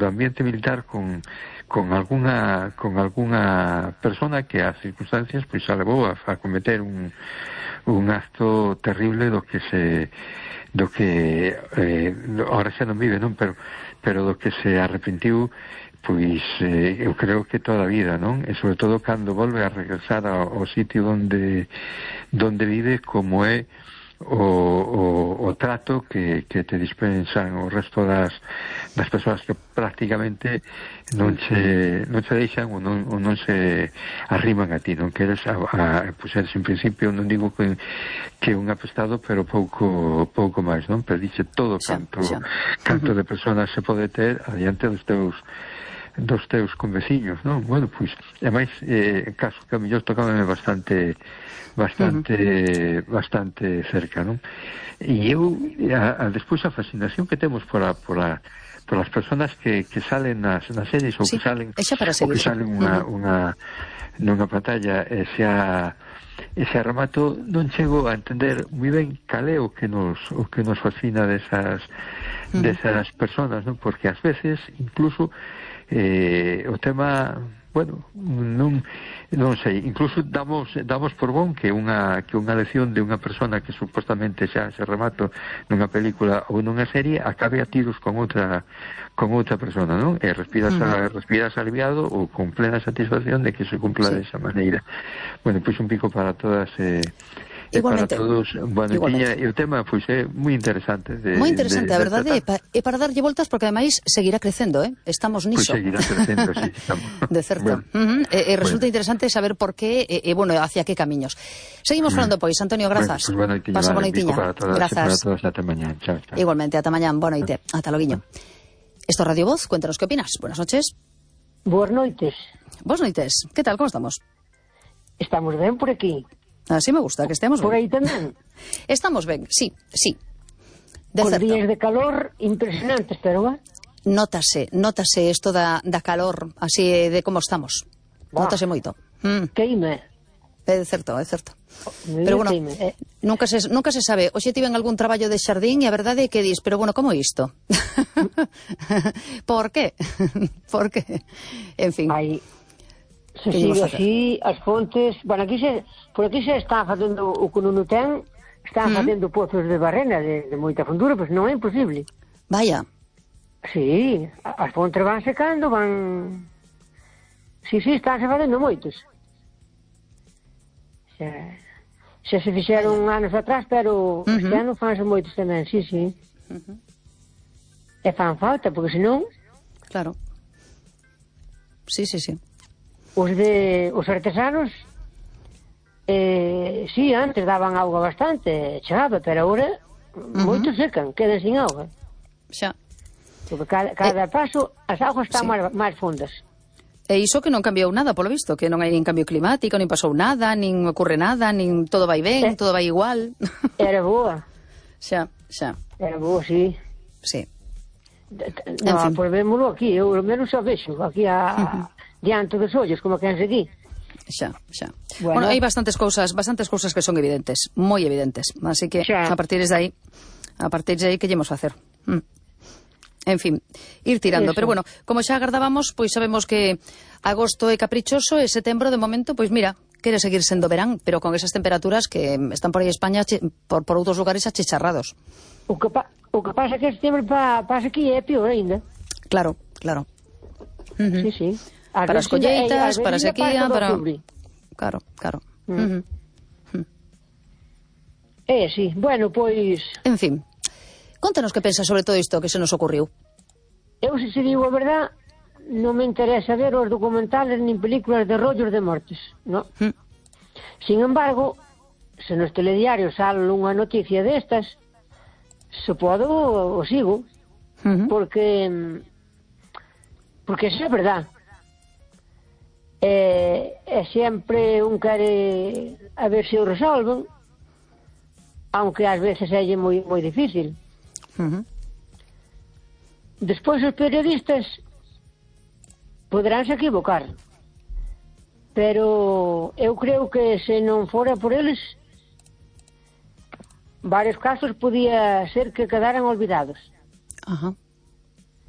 ambiente militar con alguna persona que as circunstancias pois a levou a cometer un acto terrible do que ahora xa non vive, non? Pero do que se arrepentiu, pois eu creo que toda a vida, non? E sobre todo cando volve a regresar ao sitio onde vive, como é o trato que te dispensan o resto das persoas que prácticamente non se deixan ou non se arriman a ti, non queres pois eres en principio, non digo que un apestado, pero pouco máis, non? Pero dice todo canto de personas se pode ter adiante dos teus conveciños, non? Bueno, pois, ademais, caso que a mellor tocábame bastante cerca, non? E eu, despois a fascinación que temos por as persoas que salen nas series ou que salen nunha pantalla, ese remato non chego a entender moi ben cal é o que nos fascina desas persoas, non? Porque ás veces incluso o tema, bueno, non sei, incluso damos por bon que unha lección de unha persona que supostamente xa se remato nunha película ou nunha serie acabe a tiros con outra persona, non? E respiras aliviado ou con plena satisfacción de que se cumpla desa maneira. Bueno, pois un pico para todas igualmente, para todos. Bueno, e o tema pois é moi interesante. Moi interesante, a verdade, é para darlle voltas porque ademais seguirá crecendo, estamos niso. Pois seguirá crecendo, sí, estamos. De certo. Resulta interesante saber por qué e bueno, hacia que camiños. Seguimos falando, pois, Antonio, grazas. Pasa boa noitiña. Grazas. Para todos, ata mañán. Chao. Igualmente, ata mañán, boa noite. Ata loguiño. Esto es Radio Voz, cuéntanos qué opinas. Buenas noches. Boas noites. Boas noites. ¿Qué tal? ¿Cómo estamos? Estamos ben por aquí. Así me gusta, que estemos ben. Por aí tamén. Estamos ben, sí. Con días de calor impresionantes, pero Nótase isto da calor, así de como estamos. Nótase moito. Queime. É certo. Pero bueno, nunca se sabe. Hoxe tiven algún traballo de xardín e a verdade é que dis, pero bueno, como isto? Por qué? En fin. Se sigue así, as fontes... Bueno, por aquí se está facendo o que non ten, están facendo pozos de barrena de moita fondura, pois non é imposible. Vaya. Sí, as fontes van secando, van... Sí, están se facendo moitos. Xa se fixeron anos atrás, pero este ano fanse moitos tamén, sí. E fan falta, porque senón... Claro. Sí. Os artesanos sí, antes daban auga bastante, chegaba, pero agora moitos secan, quedan sin auga. Xa. Porque cada paso as augas están máis fondas. E iso que non cambiou nada, polo visto, que non hai nin cambio climático, nin pasou nada, nin ocurre nada, nin todo vai ben, todo vai igual. Era boa. Xa. Era boa, sí. Sí. No, pois vémolo aquí, eu ao menos xa vexo, aquí diante dos ollos, como que aquí. Xa. Bueno, hai bastantes cousas que son evidentes, moi evidentes, así que a partir de aí que llemos facer. En fin, ir tirando. Pero bueno, como xa agardábamos, pois sabemos que agosto é caprichoso e setembro, de momento, pois mira, quere seguir sendo verán, pero con esas temperaturas que están por aí España, por outros lugares achicharrados. O que pasa que setembro pasa aquí é pior ainda. Claro. Sí. Para as colleitas, para a sequía, para... Claro. Sí, bueno, pois... En fin, contanos que pensas sobre todo isto que se nos ocurriu. Eu, se digo a verdad, non me interesa ver os documentales nin películas de rollos de mortes, non? Sin embargo, se nos telediarios sale unha noticia destas, se podo, o sigo, porque é verdad. E sempre un quere a ver se o resolven, aunque ás veces é moi difícil. Despois os periodistas poderánse equivocar, pero eu creo que se non fora por eles, varios casos podía ser que quedaran olvidados.